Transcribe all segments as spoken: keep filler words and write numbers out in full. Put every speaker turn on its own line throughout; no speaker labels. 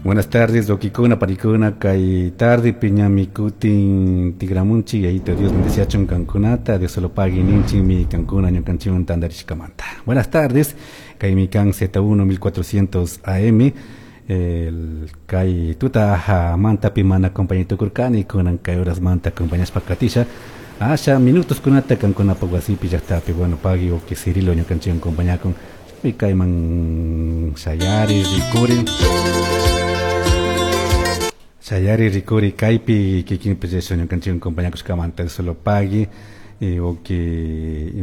Buenas tardes, wawkikuna, panikuna, kay tarde piñami kutin tigramunchik, Yayito Dios bendeciachun kankunata, Dios solo pague ninchikmi kankuna ñukanchikwan tantarishkamanta. Buenas tardes, kaymi kan Z uno mil cuatrocientos A M, el kay tuta mantapi mana acompañay tukurkani, kunan kay horas manta acompañashpa katisha asha minutos kunata kankunapaq wasipi, llaqtapi. Bueno, pagui wawki Cirilo ñukanchikwan acompañakun kayman shayari rikuri shayari rikuri kaypi kikinpi eso ñukanchikwan acompañakushkamanta, solo pagui wawki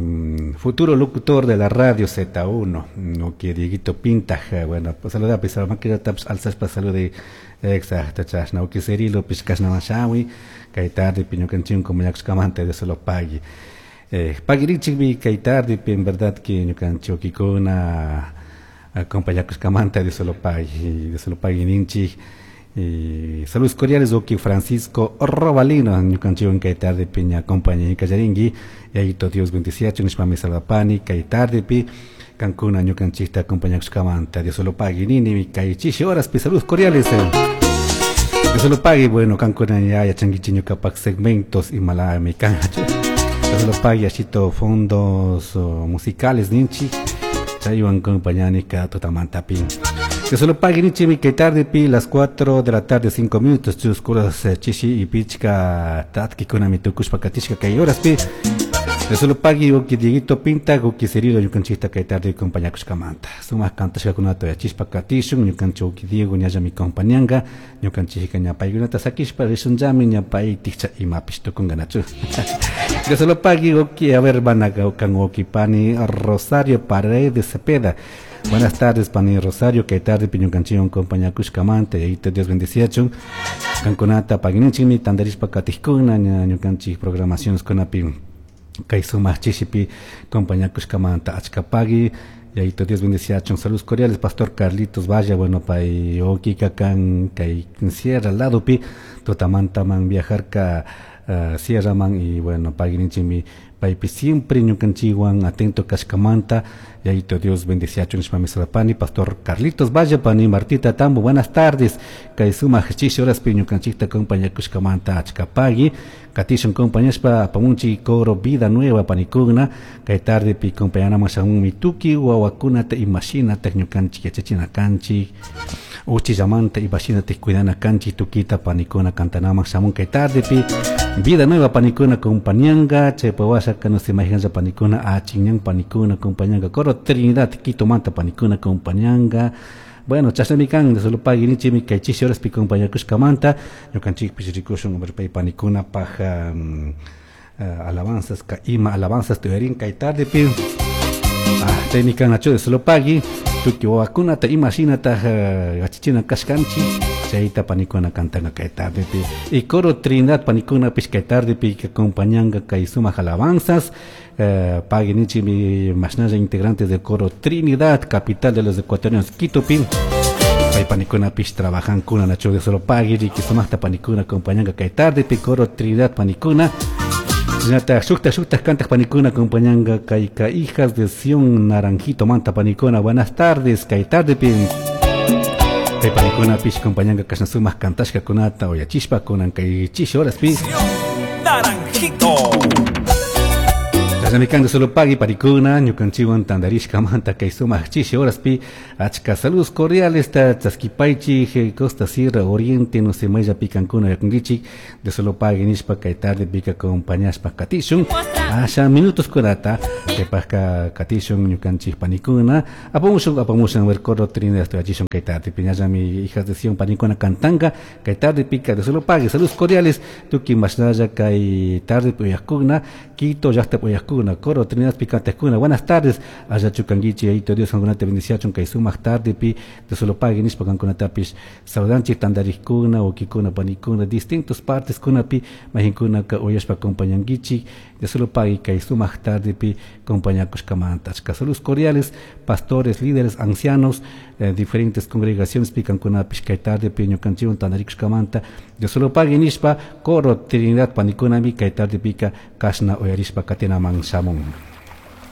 futuro locutor de la radio Z uno, wawki Dieguito Pintaj. Bueno, pues saluda pues maquillatapish alzashpa salude. Exacto, chashna wawki Cirilo pish kashnaman shawi kay tardepi ñukanchikwan acompañakushkamanta, de solo pagui eh, paguirinchikmi kay tardepi, en verdad que ñukanchik wawkikuna acompañakushkamanta, de solo pagui, de solo pagui ninchik. Y saludos cordiales, wawki Francisco Robalino, ñukanchikwan kay tardepi ña acompañay kallarinki, Yayito Dios bendiciachun nishpami saludapani kay tardepi kankuna ñukanchikta acompañakushkamanta, Dios solo pagui nini kay chishi horaspi. Saludos cordiales. Dios solo pagui. Bueno, kankuna ya yachankichik ñukapak segmentos imalami kan. Dios solo pagui, ashito fondos musicales ninchik, chaywan acompañani cada tutamantapi. Dios solo pagui ninchikmi kay tardepi, las cuatro de la tarde cinco minutos, chuskuras chishi y pichka tatkikunami tukushpa katishka kay horaspi. Dios solo pagui, wawki Dieguito Pinta, wawki Cirilo ñukanchikta kay tarde acompañakushkamanta. Sumak kantashkakunata yachishpa katishun, ñukanchik wawki Diego ñallami acompañanka, ñukanchikka ña paykunata sakishpa rishunllami, ña pay tikcha imapish tukunkanachu. Dios solo pagui, wawki, a ver, van a kan wawki pani Rosario Paredes Cepeda. Buenas tardes, pani Rosario, kay tarde ñukanchikwan acompañakushkamanta, Yayito Dios bendiciachun. Kankunata paguininchikmi tantarishpa katijkuna ñukanchik programaciones kunapi kay sumak chishipi acompañakushkamanta, achka pagui, Yayito Dios bendiciachun. Saludos cordiales, pastor Carlitos Valla. Bueno, pay wawkika kan kay sierra ladopi, tutamantaman viajarka uh, sierraman y bueno, paguininchikmi paypi siempre ñukanchikwan atento kashkamanta, Yayito Dios bendiciachun nishpami saludapani, pastor Carlitos Valle. Pani Martita Tambo, buenas tardes, kay sumak chishi horaspi ñukanchikta acompañakushkamanta, achka pagui. Katishun acompañashpa apamunchik coro Vida Nueva panikuna, kay tardepi acompañanaman shamunmi tukuy wawakunata imashinata ñukanchik yachachina kanchik, uchillamanta imashinata cuidana kanchik, tukita panikuna kantanaman shamun kay tardepi. Vida Nueva panikuna acompañanga, chaypa washaka no se imaginan panikuna achinñan panikuna acompañanga, coro Trinidad Quito manta panikuna acompañanga. Bueno, chashnami kan, solo pagui ninchikmi kay chishi horaspi acompañakushkamanta, ñukanchikpish rikushun pay panikuna paj um, uh, alabanzas ka ima alabanzas tuyarin kay tardepi. Ah, chaymi kan nachu, solo pagui, tukuy wawakunata imashinata yachachichina kashkanchik, chayta panikuna kantanga kay tardepi. Y coro Trinidad panikunapish kay tardepi acompañanga kay sumak alabanzas. eh, pagui ninchikmi mashnalla integrantes del coro Trinidad, capital de los ecuatorianos, Quitopi pay panikunapish trabajankuna nachu. De solo pagui riki sumakta panikuna acompañanga kay tardepi coro Trinidad panikuna. Shinata shukta shukta kantaq panikuna acompañanga kay ka Hijas de Sion Naranjito manta panikuna. Buenas tardes, kay tardepi kay panikunapish acompañanga kashna sumak kantashkakunata uyachishpa kunan kay chishi horaspi.
Naranjito.
Chashnami kan, solo pagui panikuna ñukanchikwan tantarishkamanta kay sumak chishi horaspi, achka saludos cordiales ta chaskipaychik Costa, Sierra, Oriente, no sé mayllapi kankuna yakunkichik, de solo pagui nishpa kay tardepika acompañashpa katishun asha minutos kunata chaypajka katishun ñukanchik panikuna apamushun apamushun ver coro Trinidad tuyachishun kay tardepi, ñallami Hijas de Sion panikuna kantanga kay tardepika. De solo pagui, saludos cordiales tukuy mashnalla kay tardepi uyakuna, Quito llaqtapi uyakuna, coro Trinidad picantekuna. Buenas tardes, allachu kankichik, Yayito Dios kankunata bendiciachun kay sumak tardepi, de solo pagui nishpa kankunatapish saludanchik tantarikkuna, wawkikuna, panikuna, distintos partes kunapi mayqinkunaka uyashpa acompañankichik, de solo pagui kay sumak tardepi acompañakushkamanta, achka saludos cordiales, pastores, líderes, ancianos, eh, diferentes congregaciones picankunapish kay tardepi ñukanchikwan tantarikushkamanta, de solo pagui nishpa coro Trinidad panikunami kay tardepika kashna uyarishpa katinaman shamun.